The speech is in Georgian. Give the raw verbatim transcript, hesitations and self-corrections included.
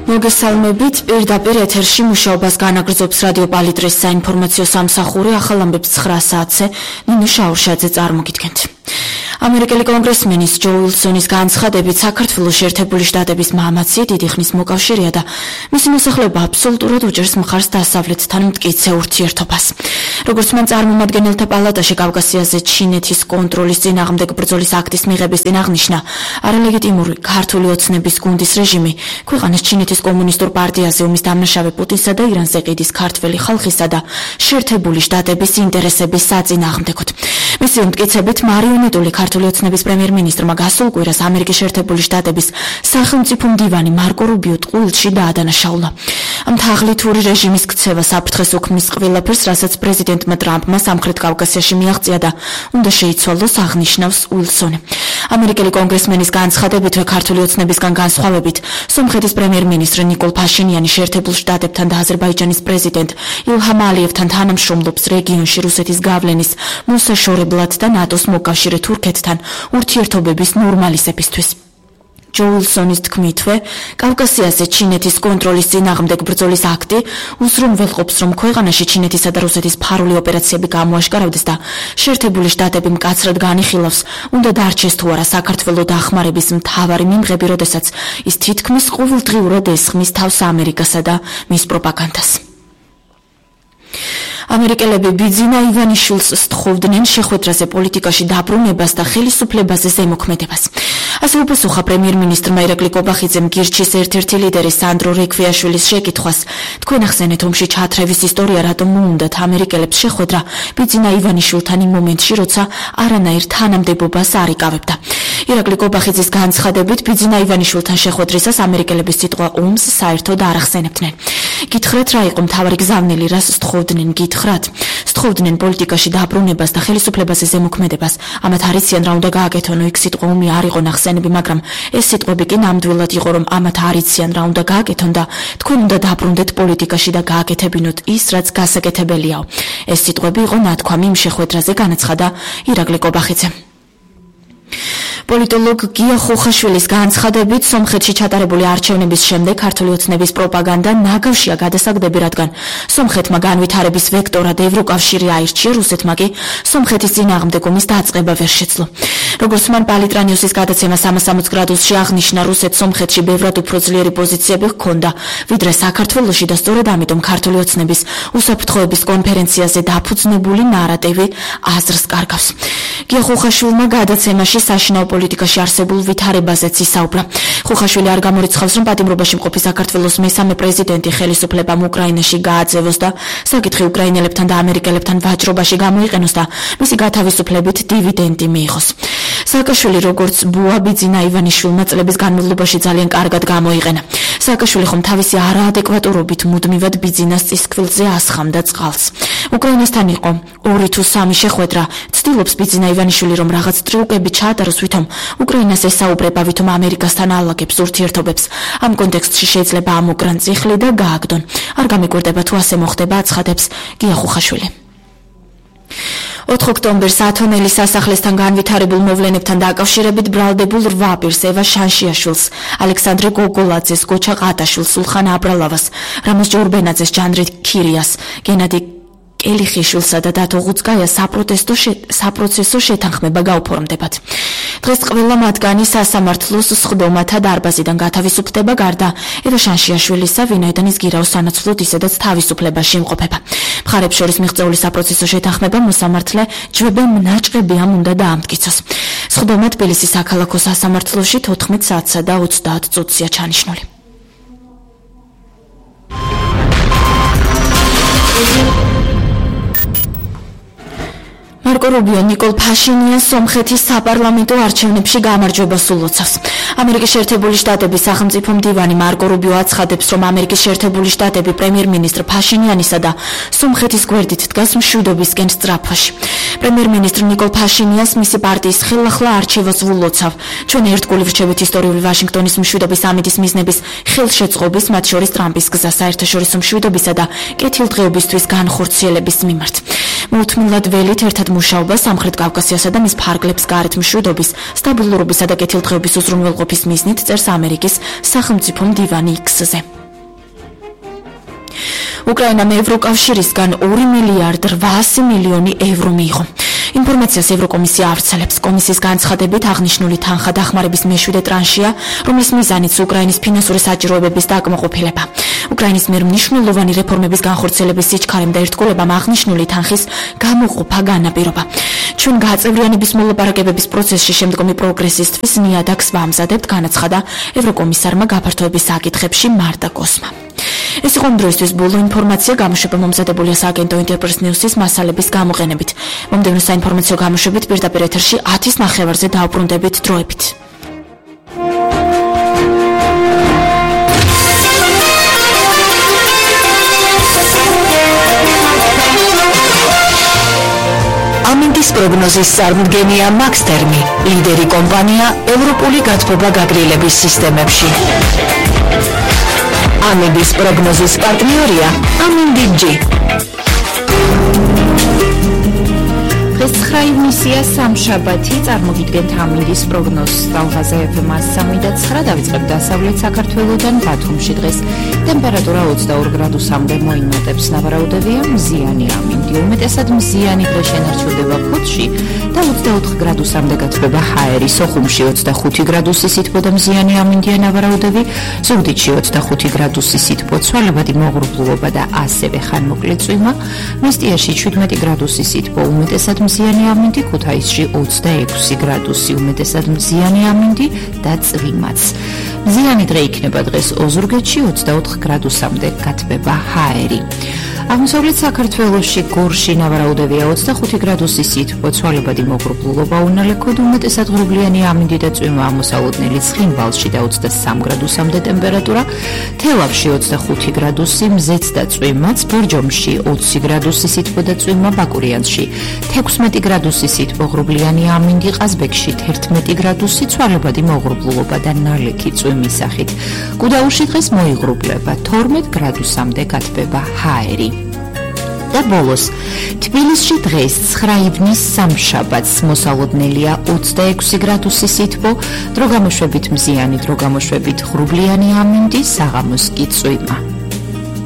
მოგესალმებით, პირდაპირ ეთერში მუშაობას განაგრძობს რადიო პალიტრის საინფორმაციო სამსახური, ახალ ამბებს ცხრა საათზე ნინო შაურშაძე წარმოგიდგენთ. ამერიკელი კონგრესმენის ჯო უილსონის განცხადებით საქართველოში ერთებული შტატების მამაცი დიდი ხნის მოკავშირეა და მისი მოსახლეობა აბსოლუტურად უჭერს მხარს დასავლეთთან მტკიცე ურთიერთობას. როგორც მან წარმომადგენელთა პალატაში კავკასიაზე ჩინეთის კონტროლის წინააღმდეგ ბრძოლის აქტის მიღების წინ აღნიშნა, არალეგიტიმური ქართული ოცნების გუნდის რეჟიმი ქვეყანას ჩინეთის კომუნისტურ პარტიაზე ომის დამნაშავე პუტინსა და ირანზე ყიდის ქართველი ხალხისა და შეერთებული შტატების ინტერესების საწინააღმდეგოდ. მისი მტკიცებით მარიონეტული ქართული ოცნების პრემიერ-მინისტრმა გასულ კვირას ამერიკის შეერთებული შტატების სახელმწიფო მდივანი მარკო რუბიო ტყუილში დაადანაშაულა. ამ თაღლითური რეჟიმის ქცევა საფრთხეს უქმნის ყველაფერს, რასაც პრეზიდენტმა ტრამპმა სამხრეთ კავკასიაში მიაღწია და უნდა შეიცვალოს, აღნიშნავს უილსონი. ამერიკელი კონგრესმენის განცხადებითვე ქართული ოცნებისგან განსხვავებით, სომხეთის პრემიერ-მინისტრი ნიკოლ ფაშინიანი შეერთებულ შტატებთან და აზერბაიჯანის პრეზიდენტ ილჰამ ალიევთან თანამშრომლობს რეგიონში რუსეთის გავლენის მოსაშორებლად და ნატოს მოკავშირე თურქეთთან ურთიერთობების ნორმალიზებისთვის. ჯო უილსონის თქმითვე, კავკასიაზე ჩინეთის კონტროლის წინააღმდეგ ბრძოლის აქტი უზრუნველყოფს, რომ ქვეყანაში ჩინეთისა და რუსეთის ფარული ოპერაციები გამოაშკარავდეს და შეერთებული შტატები მკაცრად განიხილავს, უნდა დარჩეს თუ არა საქართველოს დახმარების მთავარი მიმღები, როდესაც ის თითქმის ყოველდღიურად ესხმის თავს ამერიკასა და მის პროპაგანდას. ამერიკელები ბიძინა ივანიშვილს სთხოვდნენ შეხვედრაზე პოლიტიკაში დაბრუნებას და ხელისუფლებაზე ზემოქმედებას. ასე უპასუხა პრემიერ-მინისტრმა ირაკლი კობახიძემ გირჩის ერთ-ერთი ლიდერი სანდრო რექვიაშვილის შეკითხვას. თქვენ ახსენეთ ომში ჩათრევის ისტორია, რატომ მოუნდათ ამერიკელებს შეხვედრა ბიძინა ივანიშვილთან იმ მომენტში, როცა არანაირ თანამდებობას არ იკავებდა. ირაკლი კობახიძის განცხადებით, ბიძინა ივანიშვილთან შეხვედრისას ამერიკელების სიტყვა ომს საერთოდ არ ახსენებდნენ. გითხრათ, რა იყო მთავარი გზავნილი, რას სთხოვდნენ, გითხრათ? სთხოვდნენ პოლიტიკაში დაბრუნებას და ხელისუფლებაზე ზემოქმედებას. ამათ არიციან რა უნდა გააკეთონო, იქ სიტყვა ომი არ იყო ნახსენები, მაგრამ ეს სიტყვები კი ნამდვილად იყო, რომ ამათ არიციან რა უნდა გააკეთონ და თქვენ უნდა დაბრუნდეთ პოლიტიკაში და გააკეთებინოთ ის, რაც გასაკეთებელიაო. ეს სიტყვები იყო ნათქვამი იმ შეხვედრაზე, განაცხადა ირაკლი კობახიძემ. პოლიტოლოგ გია ხოხაშვილის განცხადებით, სომხეთში ჩატარებული არჩევნების შემდეგ ქართული ოცნების პროპაგანდა ნაგავშია გადასაგდები, რადგან სომხეთმა განვითარების ვექტორად ევროკავშირი აირჩია, რუსეთმა კი სომხეთის წინააღმდეგ ომის დაწყება ვერ შეძლო. როგორც მან პალიტრანიუსის გადაცემა სამას სამოცი გრადუსში აღნიშნა, რუსეთს სომხეთში ბევრად უფრო ძლიერი პოზიციები ჰქონდა, ვიდრე საქართველოში და სწორედ ამიტომ ქართული ოცნების უსაფრთხოების კონფერენციაზე დაფუძნებული ნარატივი აზრს კარგავს. გია ხოხაშვილმა გადაცემაში საშინაო პოლიტიკაში არსებულ ვითარებაზეც ისაუბრა. ხოხაშვილი არ გამორიცხავს, რომ პატიმრობაში მყოფი საქართველოს მესამე პრეზიდენტი ხელისუფლებამ უკრაინაში გააძევოს და საკითხი უკრაინელებთან და ამერიკელებთან ვაჭრობაში გამოიყენოს და მისი გათავისუფლებით დივიდენდი მიიღოს. სააკაშვილი როგორც ბუა ბიძინა ივანიშვილმა წლების განმავლობაში ძალიან კარგად გამოიყენა. სააკაშვილი ხომ თავისი არაადეკვატურობით მუდმივად ბიძინას წისქვილზე ასხამდა წყალს. უკრაინასთან იყო ორი თუ სამი შეხვედრა. ცდილობს ბიძინა ივანიშვილი, რომ რაღაც ტრიუკები ჩაატაროს, ვითომ უკრაინას ესაუბრება, ვითომ ამერიკასთან ალაგებს ურთიერთობებს. ამ კონტექსტში შეიძლება ამოკრან წიხლი და გააგდონ. არ გამიკვირდება თუ ასე მოხდება, აცხადებს გია ხოხაშვილი. ოთხ ოქტომბერს ათონელის სასახლესთან განვითარებულ მოვლენებთან დაკავშირებით ბრალდებულ რვა პირს, ევა შანშიაშვილს, ალექსანდრე გოგოლაძეს, გოჩა ყატაშვილს, სულხან აბრალავას, რამაზ ჯორბენაძეს, ჯანრით ქირიას, გენადი ელიხიშვილსა და დათო ღუცკაიას საპროტესტო საპროცესო შეთანხმება გაუფორმდებათ. დღეს ყველა მათგანი სასამართლოს სხდომათა დარბაზიდან გათავისუფლდება, გარდა ევა შანშიაშვილისა, ვინაიდან ის გირაოს სანაცვლოდ ისედაც თავისუფლებაში იმყოფება. მხარებს შორის მიღწეული საპროცესო შეთანხმება მოსამართლე ჯვებენ ნაჭყებიამ უნდა დაამტკიცოს. სხდომა თბილისის საქალაქო სასამართლოში თოთხმეტ საათსა და ოცდაათ წუთზეა ჩანიშნული. მარკო რუბიო ნიკოლ ფაშინიანს სომხეთის საპარლამენტო არჩევნებში გამარჯვებას ულოცავს. ამერიკის შეერთებული შტატების სახელმწიფო მდივანი მარკო რუბიო აცხადებს, რომ ამერიკის შეერთებული შტატები პრემიერ-მინისტრ ფაშინიანისა და სომხეთის გვერდით დგას მშვიდობისკენ სწრაფაში. პრემიერ-მინისტრ ნიკოლ ფაშინიანს მისი პარტიის ხელახლა არჩევას ულოცავ. ჩვენ ერთგული ვრჩებით ისტორიული ვაშინგტონის მშვიდობის ამიდის მიზნების ხელშეწყობის, მათ შორის ტრამპის გზა საერთაშორისო მშვიდობისა და კეთილდღეობისთვის განხორციელების მიმართ. მოუთმილად ველით ერთად მუშაობა სამხრეთ კავკასიასა და მის ფარგლებს გარეთ მშვიდობის, სტაბილურობისა და კეთილდღეობის უზრუნველყოფის მიზნით წერს ამერიკის სახელმწიფო მდივანი X-ზე. უკრაინამ ევროკავშირისგან ორი მილიარდ რვაასი მილიონი ევრო მიიღო. ინფორმაციას ევროკომისია ავრცელებს. კომისიის განცხადებით აღნიშნული თანხა დახმარების მეშვიდე ტრანშია, რომლის მიზანიც უკრაინის ფინანსური საჭიროებების დაკმაყოფილება. უკრაინის მიერ მნიშვნელოვანი რეფორმების განხორციელების სიჩქარემ და ერთგულებამ აღნიშნული თანხის გამოყოფა განაპირობა. ჩვენ გაწევრიანების მოლაპარაკებების პროცესში შემდგომი პროგრესისთვის ნიადაგს ვამზადებთ, განაცხადა ევროკომისარმა გაფართოების საკითხებში მარტა კოსმა. ეს იყო დროისთვის ბოლო ინფორმაცია, გამოშვება მომზადებულია სააგენტო ინტერპრეს ნიუსის მასალების გამოყენებით. მომდევნო საინფორმაციო გამოშვებით პირდაპირ ეთერში ათის ნახევარზე დაუბრუნდებით დროებით. ამინდის პროგნოზის წარმომადგენელია მაქსტერმი, ლიდერი კომპანია ევროპული გათბობა გაგრილების სისტემებში. ამინდის პროგნოზის პარტნიორია ამინდი-G. დღეს ცხრა ივნისია სამშაბათი, წარმოგიდგენთ ამინდის პროგნოზს. ტალღაზე ეფ ემ სამი და ცხრა დავიწყებთ დასავლეთ საქართველოდან. ბათუმში დღეს ტემპერატურა ოცდაორი გრადუსამდე მოიმატებს. ნავარაუდებია მზიანი ამინდი, უმეტესად მზიანი დღე შენარჩუნდება ფოთში და ოცდაოთხ გრადუსამდე გათბება ჰაერი. სოხუმში ოცდახუთი გრადუსი სითბო და მზიანი ამინდია ნავარაუდები, ზუგდიდში ოცდახუთი გრადუსი სითბო, ცვალებადი მოღრუბლულობა და ასევე ხანმოკლე წვიმა, მესტიაში შვიდმეტი გრადუსი სითბო, უმეტესად მზიანი ამინდი, ქუთაისში ოცდაექვსი გრადუსი, უმეტესად მზიანი ამინდი და წვიმაც. მზიანი დღე იქნება დღეს ოზურგეთში, ოცდაოთხ გრადუსამდე გათბება ჰაერი. აღმოსავლეთ საქართველოში გორში ნავარაუდებია ოცდახუთი გრადუსი სითბო, ცვალებადი მოღრუბლულობა, უნალექოდ უმეტესად ღრუბლიანი ამინდი და წვიმა, ამოსალოდნელი ცხინვალში და ოცდასამი გრადუსამდე ტემპერატურა, თელავში ოცდახუთი გრადუსი, მზეც და წვიმაც, ბორჯომში ოცი გრადუსი სითბო და წვიმა, ბაკურიანსში თექვსმეტი გრადუსი სითბო, ღრუბლიანი ამინდი, ყაზბეგში თერთმეტი გრადუსი, ცვალებადი მოღრუბლულობა და ნალექი წვიმის სახით. გუდაურში დღეს მოიღრუბლება, თორმეტ გრადუსამდე გათბება ჰაერი. და ბოლოს, თბილისში დღეს ცხრა ივნის სამშაბათს მოსალოდნელია ოცდაექვსი გრადუსი სითბო, დრო გამოშვებით მზიანი, დრო გამოშვებით ღრუბლიანი ამინდი, საღამოს კი წვიმა.